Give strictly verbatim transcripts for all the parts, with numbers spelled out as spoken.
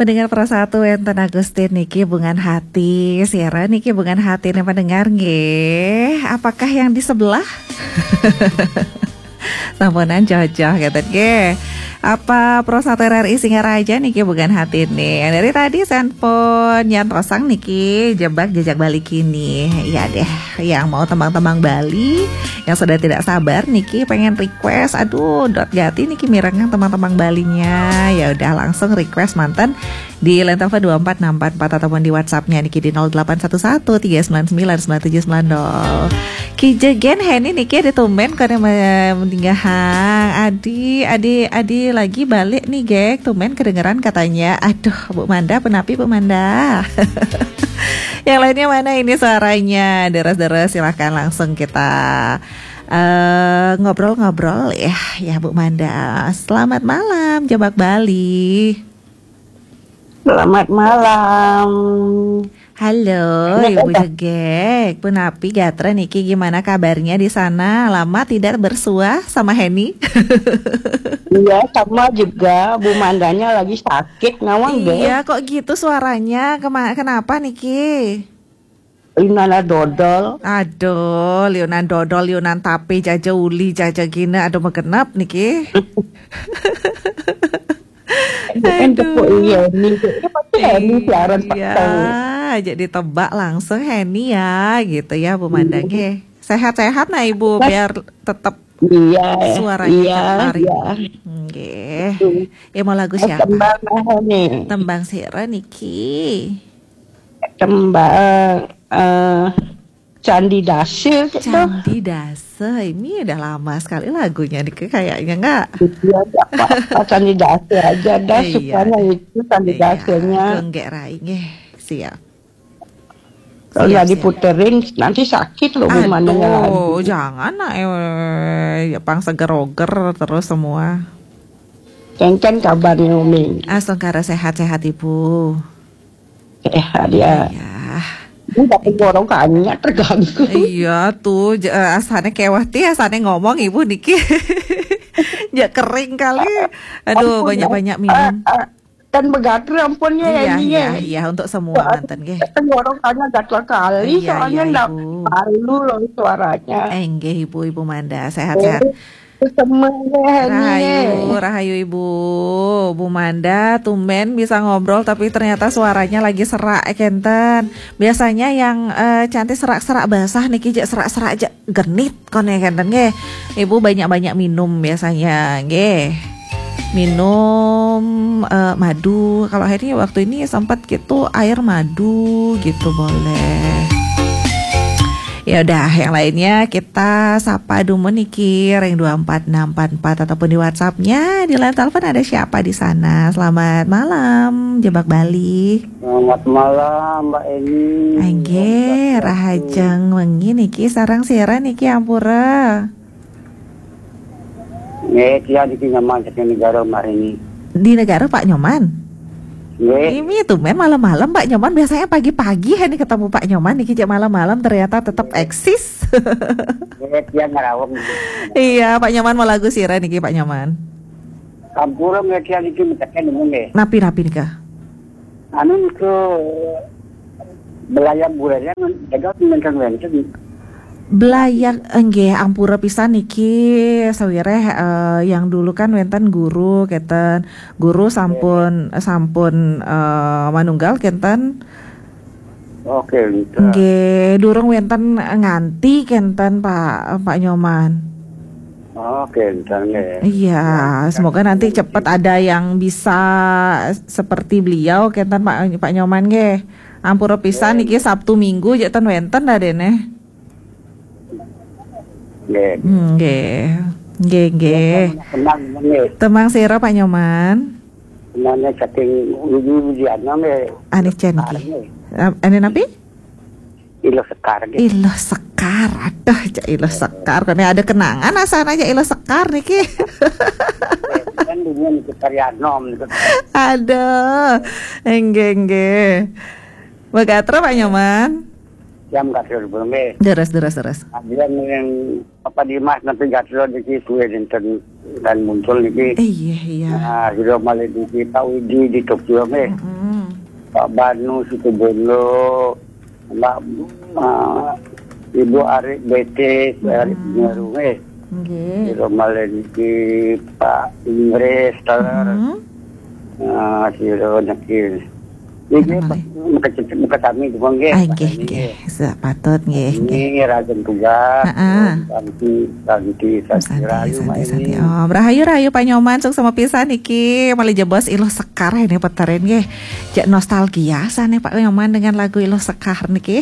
Pendengar Pro satu wénten Agustin niki Bungan Hati. Siaran niki Bungan Hati nih pendengar nggih. Apakah yang di sebelah? Sampunan cocok gitu nggih. Apa Pro satu R R I Singaraja niki Bungan Hati nih. Yang dari tadi sampun nyantosang niki Jebak Jejak Bali Kini. Iya deh, yang mau tembang-tembang Bali, yang sudah tidak sabar niki pengen request. Aduh, dot gati niki mirengang tembang-tembang Balinya. Ya udah langsung request manten di line telepon dua empat enam empat empat ataupun di WhatsApp-nya niki di nol delapan satu satu tiga sembilan sembilan sembilan tujuh sembilan nol. Ki Jegen Heni niki ada tumben kone me- meninggal hang. Adi, Adi, Adi lagi balik nih, Gek. Tumben kedengeran katanya. Aduh, Bu Manda, penapi Bu Manda. Yang lainnya mana ini suaranya? Deres-deres, silahkan langsung kita eh, ngobrol-ngobrol ya, ya Bu Manda. Selamat malam, Jebak Bali. Selamat malam. Halo, Ibu Jegek. Punapi gatra niki, gimana kabarnya di sana? Lama tidak bersuah sama Heni. Iya, sama juga. Bu Mandanya lagi sakit, nawang deh. Iya, kok gitu suaranya? Kema- kenapa niki? Liunana dodol. Aduh, liunan dodol, liunan tape, jaja uli, jaja gina, aduh megenep niki. Kan tepuk iya nih. Ini pasti Heni siaran Iya, peteng. Jadi tebak langsung Heni ya, gitu ya Bu Mandang. Nggih. Sehat-sehat nah Ibu, biar tetap Iya, suaranya iya, cetar. Iya. Nggih. Hmm. Ya mau lagu Eh, siapa? Tembang apa nih? Tembang sira niki. Tembang eh Candi Dase gitu. Candi Dase, ini udah lama sekali lagunya nih kayaknya nggak? Iya, nggak apa-apa, Candi Dase aja dah, Iya, sukanya deh. Itu Candi Iya, Dasenya. Genggek rai nggih. Siap. Kalau Siap, nggak siap. Diputerin nanti sakit loh Bu Mandanya lagi. Aduh, jangan nak eh, ya pang seger-oger terus semua. Kencen kabarnya Umi. Astungkara sehat-sehat Ibu. Sehat ya. Iya. Ini tapi tenggorokannya terganggu. Iya tuh, j- eh, asane keweh ti, asane ngomong Ibu niki. Ya kering kali. Aduh, ampun, banyak-banyak minum. Eh, eh, kan begatel ampun ya, Iya, ini iya, ya. Iya, untuk semua Soalnya manten nggih. Tenggorokannya gatel kali, Iya, soalnya iya, ndak Ibu. Malu loh suaranya. Eh, nggih Ibu, Ibu Manda, sehat-sehat. Eh, semangat, Rahayu, Heni. Rahayu Ibu. Bu Manda, tumben bisa ngobrol tapi ternyata suaranya lagi serak eh, kenten. Biasanya yang eh, cantik serak-serak basah niki jek serak-serak jek genit kone kenten nggih. Ibu banyak-banyak minum biasanya nggih. Minum eh, madu. Kalau Heni waktu ini sempat gitu air madu gitu boleh. Ya udah, yang lainnya kita sapa dulu niki ring dua empat enam empat empat ataupun di WhatsApp-nya. Di line telepon ada siapa di sana? Selamat malam, Jebak Bali. Selamat malam, Mbak Eni. Enggih, rahajeng wengi niki sareng sira niki ampura. Nggih, tiang niki Nyoman saking negara Marini. Di negara Pak Nyoman? Nggih. Ini tumben malam-malam Pak Nyoman, biasanya pagi-pagi ini ketemu Pak Nyoman niki jek malam-malam ternyata tetap eksis. Nggih, tiang ngerawang. Iya, Pak Nyoman mau lagu sira niki Pak Nyoman. Sampura nggih tiang niki metekan nggih. Napi-napi nika? Anu ke belayang bulannya jaga wénten. Belayang enggih ampura pisan niki sawireh eh, yang dulu kan wénten guru keten. Guru sampun sampun eh, manunggal kenten. Oke, bisa. Nggih, durung wénten nganti kenten Pak Pak Nyoman. Oke, bisa nggih. Iya, semoga nanti cepat ada yang bisa seperti beliau kenten Pak Pak Nyoman nggih. Ampura pisan niki Sabtu Minggu jek ten wénten dah dene. Nggih. Hmm, nggih. Nggih, nggih. Tenang, nggih. Temang sira Pak Nyoman. Namanya saking Widi Widiana nggih. Ane cen ki. Ane napi? Iluh Sekar nggih. Iluh Sekar. Aduh, cak Iluh Sekar. Kone ada kenangan asana aja Iluh Sekar niki. Kan dunia niku karya nom niku. Aduh. Enggih, enggih. Begatrol Pak Nyoman. Jam gatrol belum nggih. Deres, deres, deres. Adian yang apa di Mas nanti gatrol di kuwe dinten. dan muncul niki. Iya, iya. Nah, sudah malih niki Pak Widi di Tokyo nggih. Mm-mm. Pak Banu Situbondo, Mbak, eh, Ibu Ari Betis, Ari Penyeru nggih. Nggih. Sudah malih niki Pak Inggris, Taler. Mm-hmm. Nah, sudah niki. Niki, Pak, muka, muka kami juga nggih. Ah, nggih, nggih. Sepatut nggih, nggih. Ini rajin tugas. Heeh. Santi, Santi, Santi, Santi, Rayu, Santi, Santi. Oh, rahayu, rahayu Pak Nyoman, suksma pisan niki. Malih jebos Iluh Sekar ini puterin nggih. Cek nostalgia sana Pak Nyoman dengan lagu Iluh Sekar niki.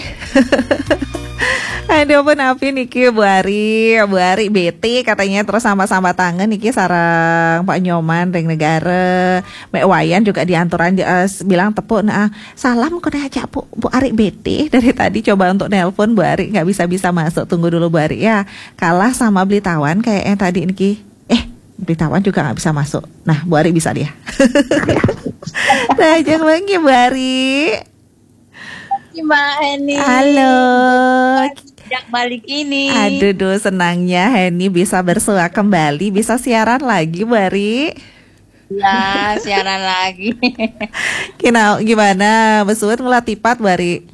Aduh pun api niki Bu Ari, Bu Ari bete katanya terus sama-sama tangan niki sarang Pak Nyoman ring negara. Mek Wayan juga dianturan uh, bilang tepuk nah, salam kena aja Bu, Bu Ari bete dari tadi coba untuk nelpon Bu Ari nggak bisa-bisa masuk, tunggu dulu Bu Ari ya. Kalah sama Beli Tawan kayaknya tadi niki. Eh, Beli Tawan juga nggak bisa masuk. Nah, Bu Ari bisa dia. Nah, jangan lagi Bu Ari. Mbak Eni. Halo. Yang balik ini. Aduh, duh, senangnya Heni bisa bersua kembali, bisa siaran lagi, Bu Ari. Ya, siaran lagi. Kina, gimana? Besuit ngelah tipat, Bu Ari?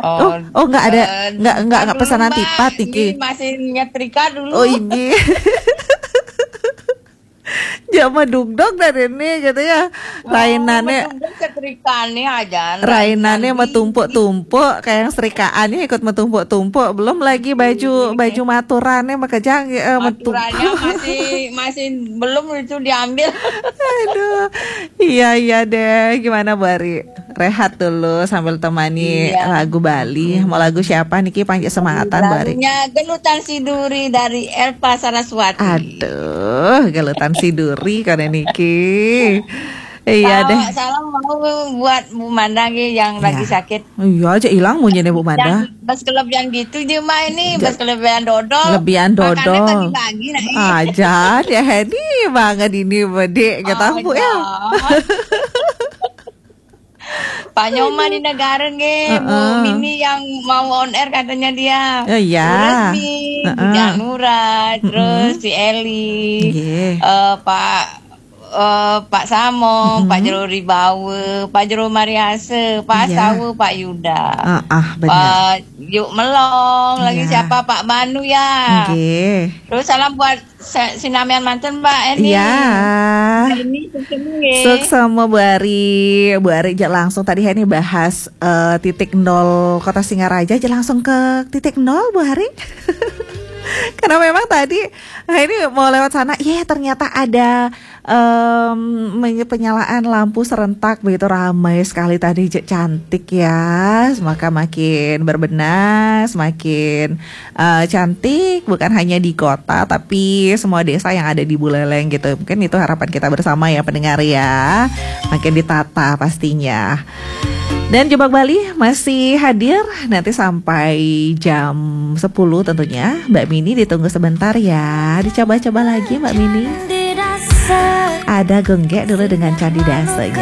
Oh, oh, nggak ada, eh, nggak, nggak, nggak pesanan tipat, Mbak. Niki. Ini masih nyetrika dulu. Oh, ini. Jama dugdog dari ini gitu ya. Rainane setrikane aja. Rainane metumpuk-tumpuk kayak yang serikaannya ikut metumpuk-tumpuk. Belum lagi baju baju maturane makejang eh, metumpuk. Maturannya masih masih belum itu diambil. Aduh. Iya, iya deh. Gimana Bu Ari? Rehat dulu sambil temani lagu Bali. Mau lagu siapa niki, panjak semangatan Bu Ari? Lagunya Gelutan Siduri dari Elva Saraswati. Aduh, Gelutan Siduri kan niki. Iya deh. Salam mau buat Bu Manda nggih yang lagi sakit. Iya aja hilang munyinya Bu Manda. Bas kelebihan gitu dia mah ini, bas kelebihan dodol. Kelebihan dodol. Makannya pagi-pagi nah. Aja ya Hedi banget ini bedik kita Bu ya. Pak Nyoman di negara nggih, Bu Mini yang mau on air katanya dia. Oh, iya. Terus di Janura, terus si Eli, eh, Pak eh, Pak Samong, Pak Jero Ribawa, Pak Jero Mariase, Pak Sawa, Pak Yuda. Ah, ah, benar. Pak Yuk Melong, lagi siapa? Pak Banu ya. Nggih. Terus salam buat sinamian mantun Mbak Eni. Iya. Mbak Eni, sukses nggih. Suksma Bu Ari. Bu Ari aja langsung tadi ini bahas eh, titik nol Kota Singaraja aja langsung ke titik nol Bu Ari. Karena memang tadi nah ini mau lewat sana, ya ternyata ada em, menye- penyalaan lampu serentak begitu ramai sekali tadi. Cantik ya, maka makin berbenah, semakin eh, cantik bukan hanya di kota tapi semua desa yang ada di Buleleng gitu. Mungkin itu harapan kita bersama ya pendengar ya. Makin ditata pastinya. Dan Jebak Bali masih hadir nanti sampai jam sepuluh tentunya. Mbak Mini ditunggu sebentar ya. Dicoba-coba lagi Mbak Mini. Ada Gengge dulu dengan Candi Daseng.